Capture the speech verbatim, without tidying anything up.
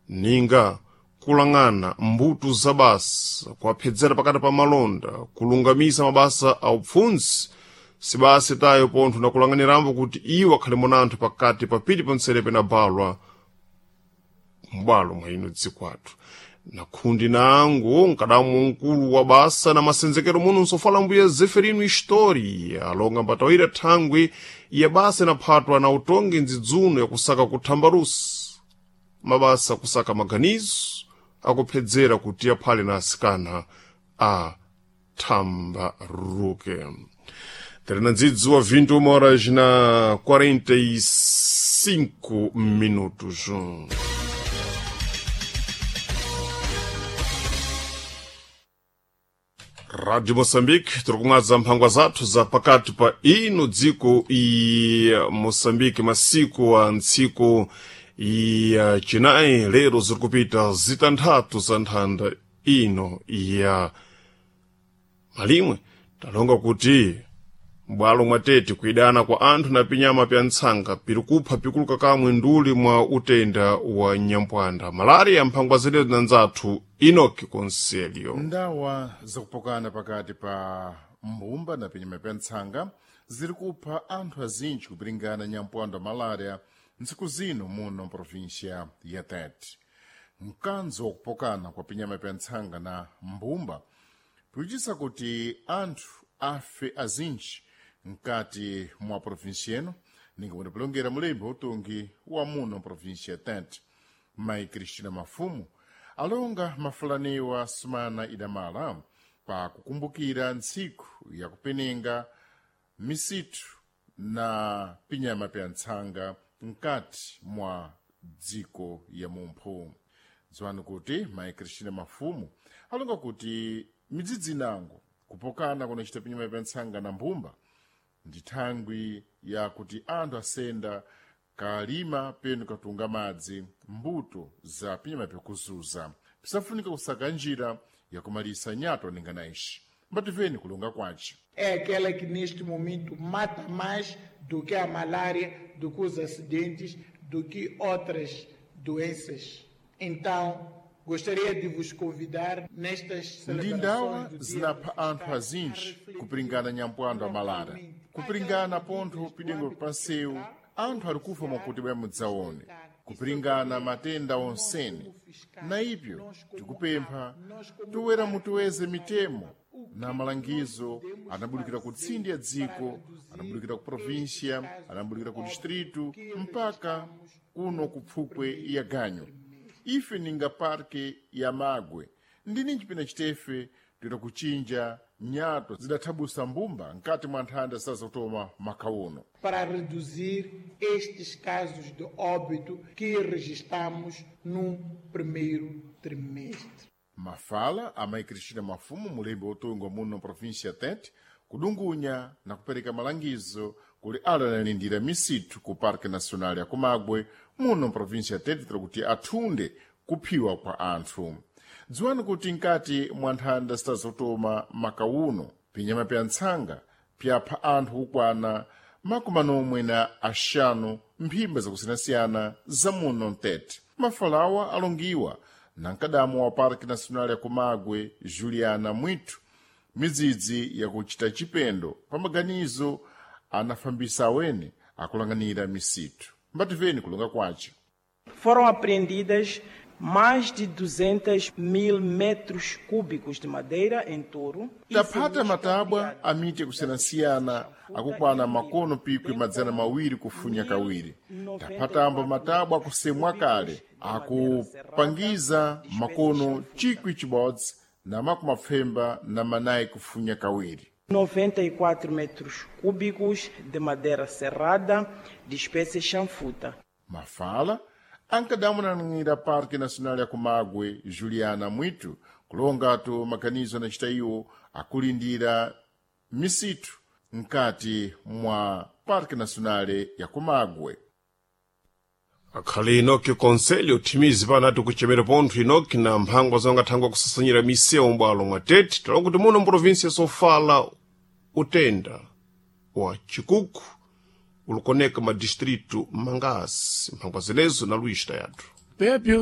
Ninga kulang'ana mbuto za basa, kuwaphedzera pakati pa malonda, kulungamisa mabasa a upfundzi, sibasa tayo pontho na kulang'anirambo kuti iwo akhale munanthu pakati pa pili ponserepe na balwa m'bwalo mwa ino dziko athu. Na khundi nangu nkadamu mkulu wa basa na masenzekero muno nsofala mbuya Zeferino História alonga mbatawira thangwi ya basa inaphatwa na utongi ndzidzuno yakusaka kuthambarusa mabasa kusaka maganizo akuphedzera kuti aphale na asikana a thambaruke. Terena ndzidzi wa vinte e uma horas na quarenta e cinco minutos. Rádio Moçambique, tiri kumwadza mphangwa zathu za pakati pa ino dziko i Moçambique, masiku a ntsiku ya chinayi lero ziri kupita zitanthatu za nthanda ino ya malimwe. Talonga kuti m'bwalo mwa Tete kuidana kwa anthu na pinyama pya ntsanga piri kupha pikuluka kamwe nduli mwa utenda wa nyampwanda malaria. Mphangwa zenezo na nzathu Enoki Conselio. Ndawa zakupokana pakati pa mbumba na pinyama pya ntsanga ziri kupha anthu azinji kupiringana nyampwando wa malaria ntsiku zino muno mprovinsia ya Tete. Mkanzo wakupokana kwa pinyama pya ntsanga na mbumba pikuchitisa kuti anthu afe azinji mkati mwa provinsia ino, ninga pulongera mulembi utungi wa muno mprovinsia ya Tete, Mai Cristina Mafumu, alonga mafulaniwa sumana idamala pa kukumbukira ntsiku yakupenenga misitu na pinyama pya ntsanga mkati mwa dziko ya mumphu. Dziwani kuti Mai Cristina Mafumu alonga kuti midzidzi inango kupokana kunachita pinyama pya ntsanga na mbumba ndi thangwi yakuti anthu asenda kalima penu katunga madzi mbuto za pinyama pyakuzuza, pisafunika kusaka njira yakumalisa nyato ningana ixi. Mbativeni kulonga kwace. É aquela que neste momento mata mais do que a malária, do que os acidentes, do que outras doenças. Então, gostaria de vos convidar nestas Ndi ndawa celebrações do Dia zinapha do anthu Fiscal azinji a refletir kupiringana nyampwando wa malara, novamente kupiringana aquelas pontho medidas do pidengo âmbito pansewu fiscal, anthu ali kufa mwakuti bwa mudzaone kupiringana matenda onsene. Na ipyo tikupempha toera mutuweze mitemo na malangizo anabudikira ku tsindi ya dziko, anabudikira ku provinsia, anabudikira ku distritu mpaka kuno ku pfukwe ya ganyo. Ife ninga parke ya Magwe ndini chipina chitefe toita kuchinja nyato zidathabusa mbumba mkati mwa nthanda zisazotoma makhauno para reduzir estes casos de óbito que registramos no primeiro trimestre. Mafala a Mai Cristina Mafumu, mulembi wotunga muno provinsia ya Tete, kudungunya na kupereka malangizo kuli ala analindira misitu ku Parque Nacional ya Kumagwe muno provinsia ya Tete tira kuti athunde kuphiwa kwa anthu. Dziwani kuti mkati mwa nthanda zitazotoma makauno pinyama pya ntsanga pyapha anthu kukwana makumi anomwe na axanu mphimba zakusiyanasiyana za muno mtete. Mafalawa alongiwa na mkadamu wa Parque Nacional ya Kumagwe, Juliana Mwitu, midzidzi yakuchita chipendo pa maganizo anafambisa awene akulanganira misitu. Mbativeni kulonga kwace. Foram apreendidas mais de duzentos mil metros cúbicos de madeira em touro. Taphata matabwa a miti yakusiyanasiyana akukwana makono pikwi madzana mawiri kufunya kawiri. Taphatambo matabwa akusemwa kale akupangiza makono chikwi chibodzi na makumi mapfemba na manayi kufunya kawiri. noventa e quatro metros cúbicos de madeira serrada de espécie chanfuta. Mafala ankadamunanira Parque Nacional ya Kumagwe, Juliana Mwitu, kulongatu maganizo anachita iwo akulindira misitu mkati mwa Parque Nacional ya Kumagwe. Akhale Enoki Conselho thimizi panati kuchemera pontho Enoki na mphangwa zongathangwa kusasanyira misewu m'bwalo mwa Tete. Tala kuti muno mprovinsi sofala utenda wa chikuku ulikoneka madistritu mangasi. Mphangwa zenezo na Luís Tayathu. Pépio.